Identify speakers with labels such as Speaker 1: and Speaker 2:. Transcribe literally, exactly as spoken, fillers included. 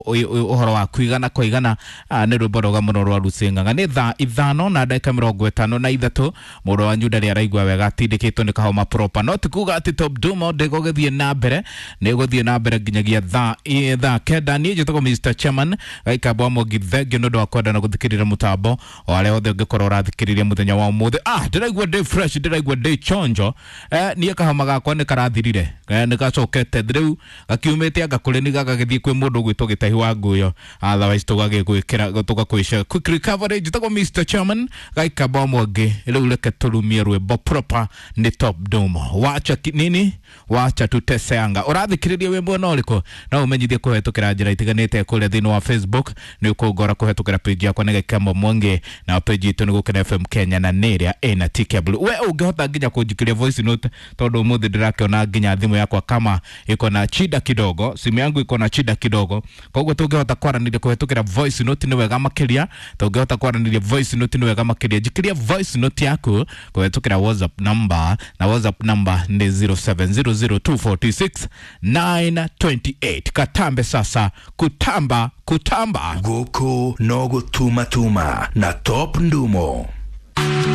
Speaker 1: Ũhoro wa kuigana kwa igana nĩ rwĩmbo rwega mũno rwa Lucy Ng'ang'a. Nĩ thaa ithano na ndagĩka mĩrongo ĩtano na ithatũ. Mũndũ wanyu ndarĩ araigua wega, atindĩkĩtwo nĩ kahoma proper, no ti kuga atĩ Top Dumo ndĩgũgĩthiĩ na mbere, nĩ gũthiĩ na mbere nginyagia thaa thaa kenda. Niĩ njĩtagwo Mister Chairman Gaikamba wa Mwangi, thengiũ nĩ ũndũ wa kwenda na gũthikĩrĩria mũtambo o arĩa othe ũngĩkorwo ũrathikĩrĩria mũthenya wa ũmũthĩ. Ah, ndĩraigua ndĩ fresh, ndĩraigua ndĩ chonjo. Eh, niĩ kahoma gakwa nĩ karathirire, eh, nĩ gacokete rĩu gakiumĩte anga kũrĩ ni gagagĩthiĩ kwĩ mũndũ ũgwĩtwo Gĩtahi wa Nguyo, otherwise tũgagĩgwĩkĩra tũgakũica quick recovery. Njĩtagwo Mister Chairman Gaikamba wa Mwangi. Rĩu reke tũrumie rwĩmbo proper, nĩ Top Dumo, wacha ki- nini, wacha tuteseanga. Ũrathikĩrĩria wĩ mwena ũrĩkũ? No ũmenyithie kũhetũkĩra njĩra itiganĩte kũrĩa thĩinĩ wa Facebook, nĩ ũkũngora kũhetũkĩra page yakwa nĩ Gaikamba Mwangi, na page itũ nĩ Gũkena F M Kenya na nĩ ĩrĩa ĩna T K Blue. We ũngĩhota nginya kũnjikĩria voice note, tondũ ũmũthĩ ndĩrakĩona nginya thimũ yakwa kama iko na shida kidogo, simu yangu iko na shida kidogo, koguo tũngĩhota kwaranĩria kũhetũkĩra voice note nĩ wega makĩria. Tũngĩhota kwaranĩria voice note nĩ wega makĩria. Njikĩria voice note yaku kũhetũkĩra WhatsApp number, na WhatsApp number nĩ zero seven zero zero two four six nine two eight. Katambe sasa kutamba kutamba.
Speaker 2: Gũkũ no gũtumatuma na Top Ndumo.